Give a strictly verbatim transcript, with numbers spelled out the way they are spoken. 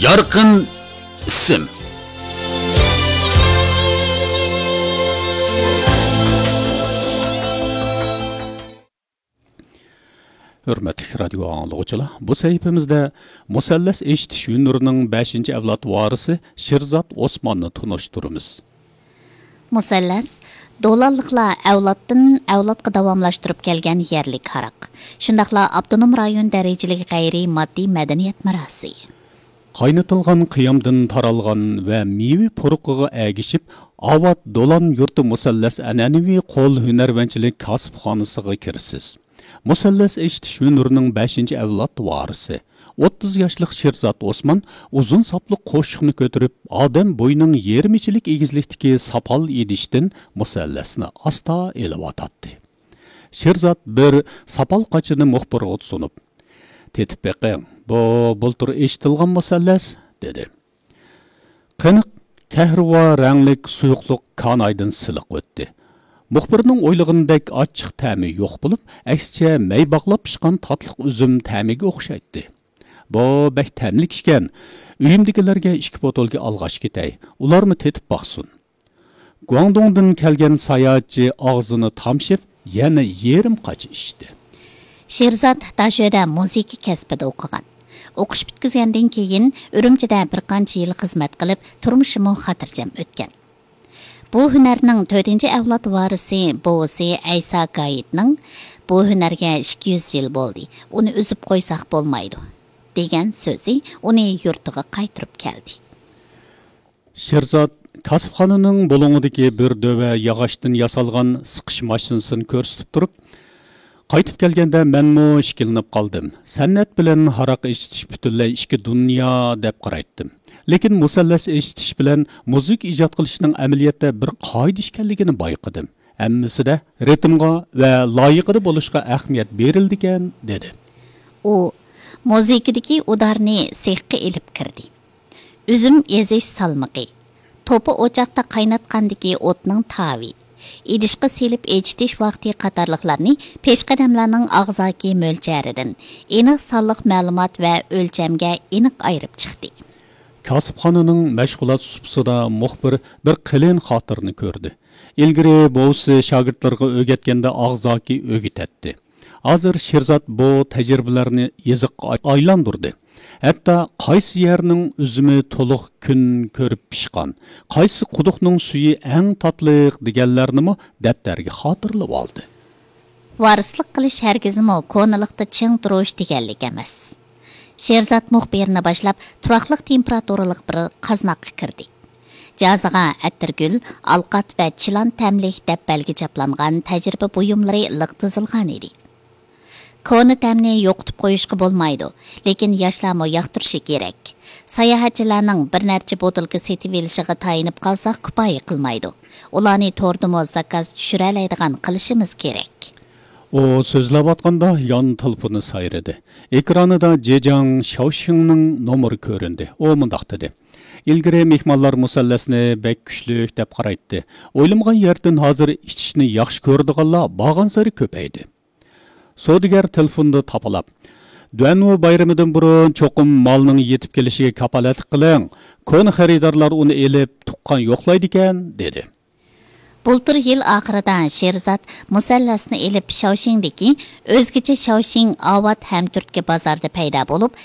يارقىن ئىسىم. ھۆرمەتلىك رادىيو ئاڭلىغۇچىلار، بۇ سەھىپىمىزدە مۇسەللەس ئېشىتىش ھۈنىرىنىڭ بەشىنچى ئەۋلاد ۋارىسى شىرزات ئوسماننى تونۇشتۇرىمىز. مۇسەللەس، دولانلىقلار ئەۋلادتىن ئەۋلادقا داۋاملاشتۇرۇپ كەلگەن يەرلىك ھاراق، شۇنداقلا ئاپتونوم رايون دەرىجىلىك غەيرىي ماددىي مەدەنىيەت مىراسى. قاينىتىلغان قىيامدىن تارالغان ۋە مېۋە پۇرىقىغا ئەگىشىپ، ئاۋات دولان يۇرتى مۇسەللەس ئەنئەنىۋى قول ھۈنەرۋەنچىلىك كاسىپخانىسىغا كىرىسىز. مۇسەللەس ئېشىتىش ھۈنىرىنىڭ بەشىنچى ئەۋلاد ۋارىسى، ئوتتۇز ياشلىق شىرزات ئوسمان ئۇزۇن ساپلىق قوشۇقنى كۆتۈرۈپ، ئادەم بويىنىڭ يېرىم ئىچىلىك ئېگىزلىكتىكى ساپال ئىدىشتىن مۇسەللەسنى ئاستا ئېلىۋاتاتتى. شىرزات بىر ساپال قاچىنى مۇخبىرغا سۇنۇپ، «تېتىپ بېقىڭ، بۇ بۇلتۇر ئېشىتىلغان مۇسەللەس» دېدى. قېنىق كەھرىۋا رەڭلىك سۇيۇقلۇق كانايدىن سىلىق ئۆتتى. مۇخبىرنىڭ ئويلىغىنىدەك ئاچچىق تەمى يوق بولۇپ، ئەكسىچە مەي باغلاپ پىشقان تاتلىق ئۈزۈم تەمىگە ئوخشايتتى. «بۇ بەك تەملىك ئىكەن. ئۆيۈمدىكىلەرگە ئىككى بوتۇلكا ئالغاچ كېتەي، ئۇلارمۇ تېتىپ باقسۇن.» گۇاڭدۇڭدىن كەلگەن ساياھەتچى ئاغزىنى تامشىپ، يەنە يېرىم قاچا ئىچتى. شىرزات داشۆدە مۇزىكا كەسپىدە ئوقۇغان. ئوقۇش پۈتكۈزگەندىن كېيىن، ئۈرۈمچىدە بىر قانچە يىل خىزمەت قىلىپ، تۇرمۇشىمۇ خاتىرجەم ئۆتكەن. بۇ ھۈنەرنىڭ تۆتىنچى ئەۋلاد ۋارىسى بوۋىسى ئەيسا گايىتنىڭ «بۇ ھۈنەرگە ئىككى يۈز يىل بولدى، ئۇنى ئۈزۈپ قويساق بولمايدۇ» دېگەن سۆزى ئۇنى يۇرتىغا قايتۇرۇپ كەلدى. شىرزات كاسىپخانىنىڭ بۇلۇڭىدىكى بىر دۆۋە ياغاچتىن ياسالغان سىقىش ماشىنىسىنى كۆرسىتىپ تۇرۇپ، «قايتىپ كەلگەندە مەنمۇ ئىككىلىنىپ قالدىم. سەنئەت بىلەن ھاراق ئېشىتىش پۈتۈنلەي ئىككى دۇنيا دەپ قارايتتىم. لېكىن مۇسەللەس ئېشىتىش بىلەن مۇزىكا ئىجاد قىلىشنىڭ ئەمەلىيەتتە بىر قائىدە ئىكەنلىكىنى بايقىدىم. ھەممىسىدە رىتىمغا ۋە لايىقىدا بولۇشقا ئەھمىيەت بېرىلىدىكەن» دېدى. ئۇ مۇزىكىدىكى ئۇدارنى سېخقا ئېلىپ كىردى. ئۈزۈم ئېزىش سالمىقى، توپا ئوچاقتا قايناتقاندىكى ئوتنىڭ تاۋى، ئىدىشقا سېلىپ ئېچىتىش ۋاقتى قاتارلىقلارنى پېشقەدەملەرنىڭ ئاغزاكى مۆلچەرىدىن، ئېنىق سانلىق مەلۇمات ۋە ئۆلچەمگە ئېنىق ئايرىپ چىقتى. كاسىپخانىنىڭ مەشغۇلات سۇپىسىدا مۇخبىر بىر قېلىن خاتىرىنى كۆردى. ئىلگىرى بوۋىسى شاگىرتلىرىغا ئۆگەتكەندە ئاغزاكى ئۆگىتەتتى. ھازىر شىرزات بۇ تەجرىبىلەرنى يېزىققا ئايلاندۇردى. ھەتتا قايسى يەرنىڭ ئۈزۈمى تولۇق كۈن كۆرۈپ پىشقان، قايسى قۇدۇقنىڭ سۈيى ئەڭ تاتلىق دېگەنلەرنىمۇ دەپتەرگە خاتىرىلىۋالدى. ۋارىسلىق قىلىش ھەرگىزمۇ كونىلىقتا چىڭ تۇرۇش دېگەنلىك ئەمەس. شېرزات مۇخبىرنى باشلاپ، تۇراقلىق تېمپېراتۇرىلىق بىر قازناققا كىردى. جازىغا ئەتىرگۈل، ئالقات ۋە چىلان تەملىك دەپبەلگە چاپلانغان تەجرىبە بۇيۇملىرى لىق تىزىلغان ئىدى. كونا تەمنى يوقىتىپ قويۇشقا بولمايدۇ، لېكىن ياشلارمۇ ياقتۇرۇشى كېرەك. ساياھەتچىلەرنىڭ بىر نەچچە بوتۇلكا سېتىۋېلىشىغا تايىنىپ قالساق كۇپايە قىلمايدۇ. ئۇلارنى توردىمۇ زاكاز چۈشۈرەلەيدىغان قىلىشىمىز كېرەك. ئۇ سۆزلەۋاتقاندا يان تېلېفونى سايرىدى. ئېكرانىدا جېجاڭ شياۋشىڭنىڭ نومۇرى كۆرۈندى. ئۇ مۇنداق دېدى: «ئىلگىرى مېھمانلار مۇسەللەسنى بەك كۈچلۈك دەپ قارايتتى. ئويلىمىغان يەردىن ھازىر ئىچىشنى ياخشى كۆرىدىغانلار بارغانسېرى كۆپەيدى.» سودىگەر تېلېفوندا تاپىلاپ، «دۇەنۋۇ بايرىمىدىن بۇرۇن چوقۇم مالنىڭ يېتىپ كېلىشىگە كاپالەتلىك قىلىڭ. كونا خېرىدارلار ئۇنى ئېلىپ تۇغقان يوقلايدىكەن» دېدى. بۇلتۇر يىل ئاخىرىدا شېرزات مۇسەللەسنى ئېلىپ شياۋشىڭدىكى ئۆزگىچە شياۋشىڭ ئاۋات ھەمتۈرتكە بازاردا پەيدا بولۇپ،